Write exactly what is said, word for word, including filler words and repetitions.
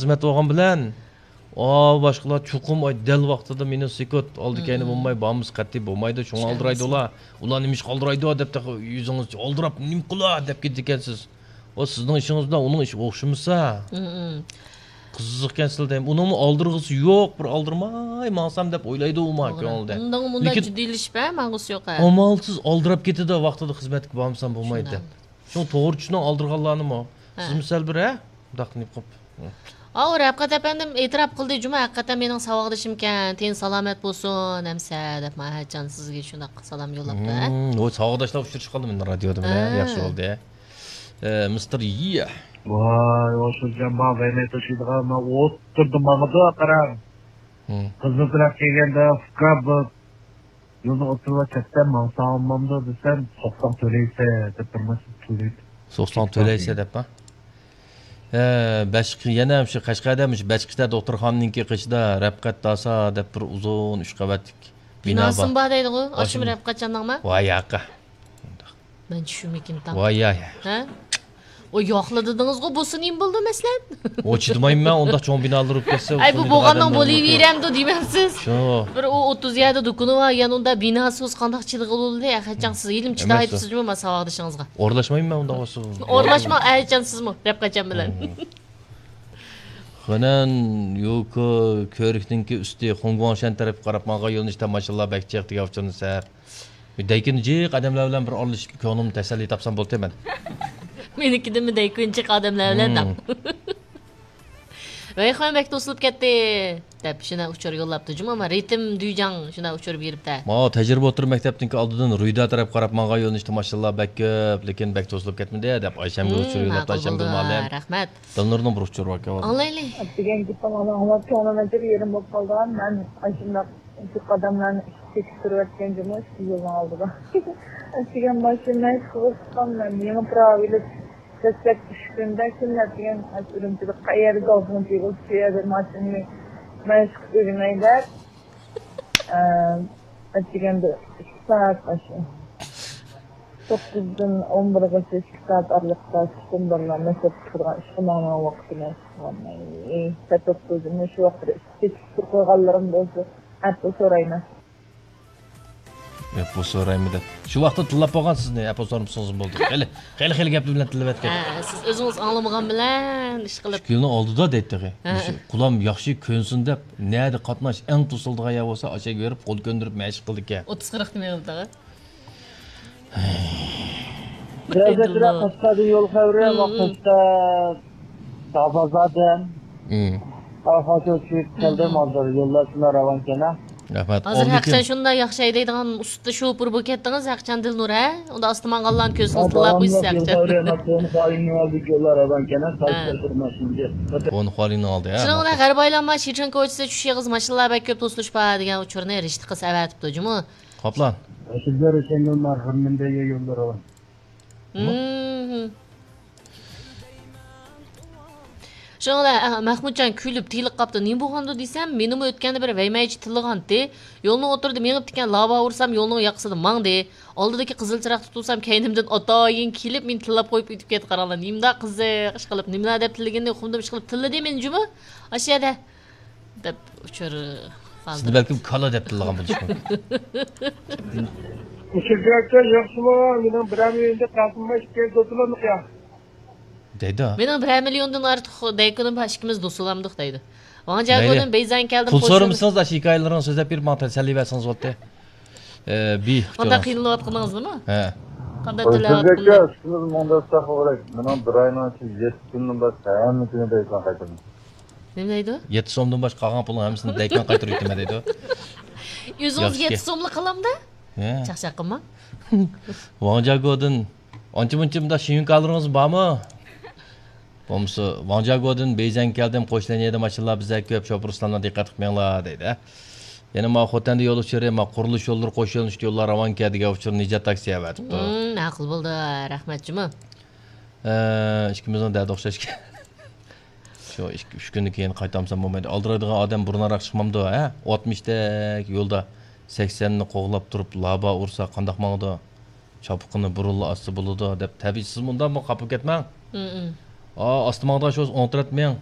خىزمەت بولغان بىلەن، ئا، باشقىلار چوقۇم، ئاي، دەل ۋاقتىدا مېنى سېكۇت، ئالدى كەينى بولماي، بارمىسا قەتئىي بولمايدۇ، شۇڭا ئالدىرايدۇ ئۇلار. ئۇلار نېمە ئىشقا ئالدىرايدۇ دەپ تېخى يۈزىڭىز ئالدىراپ، نېمە قىلا دەپ كېتىدىكەنسىز. ئۇ سىزنىڭ ئىشىڭىز بىلەن ئۇنىڭ ئىشى ئوخشىمىسا. قىزىقكەنسىز دەيمەن. ئۇنىڭمۇ ئالدىرىغۇسى يوق، بىر ئالدىرماي ماڭسام دەپ ئويلايدۇ ئۇما كۆڭلىدە. ئۇنداق مۇنداق لېكىن جىددىيلىشىپ، ھە، ماڭغۇسى يوق، ھە. ئامالسىز ئالدىراپ كېتىدۇ، ۋاقتىدا خىزمەتكە بارمىسام بولمايدۇ دەپ. شۇڭا توغرا چۈشىنىڭ ئالدىرىغانلارنىمۇ. ھە. سىز مىسال بىر، ھە؟ مۇنداق نېمە قىلىپ. ئاۋۇ رەپقەت ئەپەندىم ئېتىراپ قىلدى جۇمۇ، ھەقىقەتەن مېنىڭ ساۋاقدىشىمكەن، تېنى سالامەت بولسۇن ئەمسە دەپ، ماھەتجان سىزگە شۇنداق سالام يوللاپتۇ، ھە؟ ھىم، ۋوي، ساۋاقداشلار ئۇچرىشىپ قالدى مەن رادىيودا بىلەن، ھە. ياخشى بولدى. ئە، مىستېر يى. ۋاي، ئوشۇرجان بار، ۋەيمەي توشۇيدىغان، مانا ئوتتۇرىدا ماڭىدۇ، قاراڭ. ھىم. قىزىل تەرەپ كەلگەندە، ئۇكا، بۇ يولنى ئوتتۇرىغا چەتتە ماڭساڭ بولمامدۇ دېسەم، سوقساڭ تۆلەيسەن دەپ بىر نەرسە تۆلەيدۇ. سوقساڭ تۆلەيسەن دەپ، ھە؟ ھە، بەشقى، يەنە مۇشۇ قەشقەردە، مۇشۇ بەشقىچە دوختۇرخانىنىڭكى قېشىدا رەپقەت داسا دەپ بىر ئۇزۇن ئۈچ قەۋەتلىك بىنا بار. بىناسىمۇ بار دەيدىغۇ، ئاشۇمۇ ئاشۇمۇ. رەپقەت جاننىڭما؟ ۋاي ياقا. مەن چۈشىنىمىكىن تاڭ. ۋاي ياي. ھە؟ ئۇ ياقلا دېدىڭىزغۇ، بولسا نېمە بولدى مەسىلەن؟ ئۇ چىدىمايمەن، ئۇنداق چوڭ بىنالار بولۇپ كەتسە، ئاي، بۇ بولغاننىڭ بولۇۋېرەمدۇ دېمەمسىز؟ شۇ. بىر ئۇ ئوتتۇز يەردە دۇكىنى بار، يەنە ئۇنداق بىناسى بولسا قانداق چىدىغىلى بولدى؟ ئەخەتجان سىز ھېلىمۇ چىدايتىپسىزمۇ ما ساۋاقدىشىڭىزغا؟ ئورۇنلاشمايمەن مەن ئۇنداق بولسا. ئورۇنلاشما، ئەخەتجان سىزمۇ، رەپقەتجان بىلەن. خېنەن يوكو كۆۋرۈكنىڭكى ئۈستى خۇڭگۇاڭشەن تەرەپكە قاراپ ماڭغان يۆنىلىشتە ماشىنىلار بەك جىق دېگەن ئۇچۇرنى سەپ. دەيكىن جىق ئادەملەر بىلەن بىر ئارىلىشىپ، كۆڭلۈمنى تەسەللى تاپسام بولدى مەن. مېنىڭكىدىنمۇ دەيكۇن جىق ئادەملەر بىلەن دەپ. ۋەيخۇەن بەك توسۇلۇپ كەتتى، دەپ شۇنداق ئۇچۇر يوللاپتۇ جۇمۇ، ئەمما رىتىم دۈيجاڭ شۇنداق ئۇچۇر بېرىپتە. ماۋۇ تەجرىبە ئوتتۇرا مەكتەپنىڭكى ئالدىدىن رۇيدا تەرەپ قاراپ ماڭغان يۆنىلىشتە ماشىنىلار بەك كۆپ، لېكىن بەك توسۇلۇپ كەتمىدى، دەپ ئايشەمگۈل ئۇچۇر يوللاپتۇ، ئايشەمگۈل مۇئەللىم. رەھمەت. دىلنۇرنىڭ بىر ئۇچۇرى باركەن. ئاڭلايلى. دېگەن گېپىڭ ئاڭلاپ كۆڭلۈم ئەجەب يېرىم بولۇپ قالىدىغان، مەن ئاشۇنداق جىق ئادەملەرنى ئىشىك تېكىپ تۇرۇۋەتكەن جۇمۇ ئىشىك يولنىڭ ئالدىدا. ئەتىگەن ماشىنا ئىشىكىغا چىققان مەن يېڭى پىراۋا ئېلىپ، دەسلەپكى ئۈچ كۈندە كىملەر دېگەن ئۈرۈمچىدە قەيەردە گالتىنى تېگىپ، شۇ يەردە ماشىنىنى مەشىق ئۆگىنەي دەپ، ئە، ئەتىگەندە ئىككى سائەت ئاشۇ. توققۇزدىن ئون بىرگىچە ئىككى سائەت ئارىلىقتا چۈشتىن بىرلا مەكتەپكە چىقىدىغان ئىشقا ماڭىدىغان ۋاقتىم ئەسلىدە. ئەي، سەت توققۇزدىن شۇ ۋاقىتتا ئىشقا كېتىپ تۇرۇپ قالغانلىرىم بولسا، ئەپۇ سورايمەن. ئەپۇ سورايمەن دەپ. شۇ ۋاقىتتا تىللاپ بولغان سىزنى، ئەپۇ سورىمىسىڭىزمۇ بولدى. خېلى، خېلى، خېلى گەپلەر بىلەن تىللىۋەتكەن. ھە، سىز ئۆزىڭىز ئاڭلىمىغان بىلەن ئىشقىلىپ. ئىشىك يولنىڭ ئالدىدا دەيتتى. ھە. مۇشۇ قۇلام ياخشى كۆنسۇن دەپ، نەدە قاتناش ئەڭ توسۇلىدىغان يەر بولسا، ئاشۇ يەرگە بېرىپ قول كۆندۈرۈپ مەشىق قىلىدىكەن. ئوتتۇز قىرىق دېمەيۋاتىدىغۇ. بەزىدە قەشقەردىن يول خەۋىرى، ۋاقىتتا دابازادىن. ئاخاچو چۈشۈپ كەلدىم، ھازىر يوللار شۇنداق راۋانكەن ھە. رەھمەت. ھازىر ھەقىچان شۇنداق ياخشى ھەيدەيدىغان ئۇستا شوپۇر بولۇپ كەتتىڭىز، ھەقىچان دىلنۇر ھە؟ ئۇندا ئاستا ماڭغانلارنى كۆرسىڭىز تىللاپ قويىسىز ھەقىچان. خۇەنخۇەلىنىڭ ئالدى ھە. شۇنىڭ بىلەن غەربىي ئايلانما شىچىن كوچىسى چۈشۈش ئېغىز ماشىنىلار بەك كۆپ توسۇلۇش بار دېگەن ئۇچۇرنى رىشتە قىلسا ئەۋەتىپتۇ جۇمۇ. قاپلان. شۇڭا، ئە، مەھمۇتجان كۈلۈپ تىيىلىپ قاپتۇ. نېمە بولغاندۇ دېسەم، مېنىمۇ ئۆتكەندە بىر ۋەيمەيچى تىللىغانتى. يولنىڭ ئوتتۇرىدا مېڭىپ تىكەن لابا ئۇرسام، يولنىڭ ياقىسىدا ماڭدى. ئالدىدىكى قىزىل چىراغدا تۇرسام، كەينىمدىن ئاتايىن كېلىپ، مېنى تىللاپ قويۇپ ئۆتۈپ كەتتى. قاراڭلار، نېمىنداق قىزىق ئىشقىلىپ، نېمىلا دەپ تىللىگىنىنى ئۇقمىدىم، ئىشقىلىپ تىللىدى مېنى جۇمۇ. ئاشۇ يەردە. دەپ ئۇچۇر قالدۇردى. سىزنى بەلكىم كالا دەپ تىللىغان بولۇشى مۇمكىن. ئۇچۇر دىرېكتور ياخشىمۇ؟ مېنىڭ بىرەر مىليوندىن ئارتۇق دەيدۇ. مېنىڭ بىرەر مىليوندىن ئارتۇق دەيكۇنۇم بار، ئىككىمىز دوستلامدۇق دەيدۇ. ۋاڭجياگودىن بەيزەن كەلدىم. پۇل سورىمىسىڭىز ئاشۇ ھېكايىلىرىڭىزنى سۆزلەپ بېرىپ ماڭا تەسەللى بەرسىڭىز بولاتتى. ئە، بى. قانداق قىينىلىۋاتقىنىڭىزنىمۇ؟ ھە. قانداق تۆلەۋاتقىنىڭىز؟ ئىككىمىز مۇنداق قىلغۇدەك، مېنىڭ بىر ئاينىڭ ئىچىدە يەتتە كۈندىن باشقا ھەممە كۈنى دەيكۇن قايتۇرىمەن. نېمە دەيدۇ؟ يەتتە سومدىن باشقا قالغان پۇلنى ھەممىسىنى دەيكۇن قايتۇرۇۋېتىمەن دەيدۇ. ئۆزىڭىز يەتتە سوملا قالامدا؟ ھە. چاقچاق قىلماڭ. ۋاڭجياگودىن ئانچە-مۇنچە مۇنداق شىيۇڭكالىرىڭىز بارمۇ؟ بولمىسا، ۋاڭجياگودىن بېيجىڭگە كەلدىم، قوشلىنىيەدە ماشىنىلار بىزدەك كۆپ، شوپۇر ئۇستاملار دىققەت قىلىپ مېڭىڭلار دەيدۇ. يەنە ماۋۇ خوتەندە يول ئۇچۇرى، ماۋۇ قۇرۇلۇش يوللىرى، قوش يۆنىلىشلىك يوللار راۋانكەن دېگەن ئۇچۇرنى نىجات تاكسى ئەۋەتىپتۇ. ھىم، ماقۇل بولدى، رەھمەت جۇمۇ. ئە، ئىككىمىزنىڭ دەردى ئوخشاشكەن. شۇ ئىككى، ئۈچ كۈندىن كېيىن قايتامسام بولمايدۇ. ئالدىرايدىغان ئادەم بۇرۇنراق چىقمامدۇ، ھە؟ ئاتمىشتەك يولدا سەكسەننى قوغلاپ تۇرۇپ لابا ئۇرسا قانداق ماڭىدۇ؟ چاپىقىنى بۇرۇنلا ئاچسا بولىدۇ، دەپ تەبىئىي سىز مۇنداقمۇ خاپا كەتمەڭ. ئا، ئاستا ماڭىدىغان شۇ ئوڭ تەرەپ مېڭىڭ.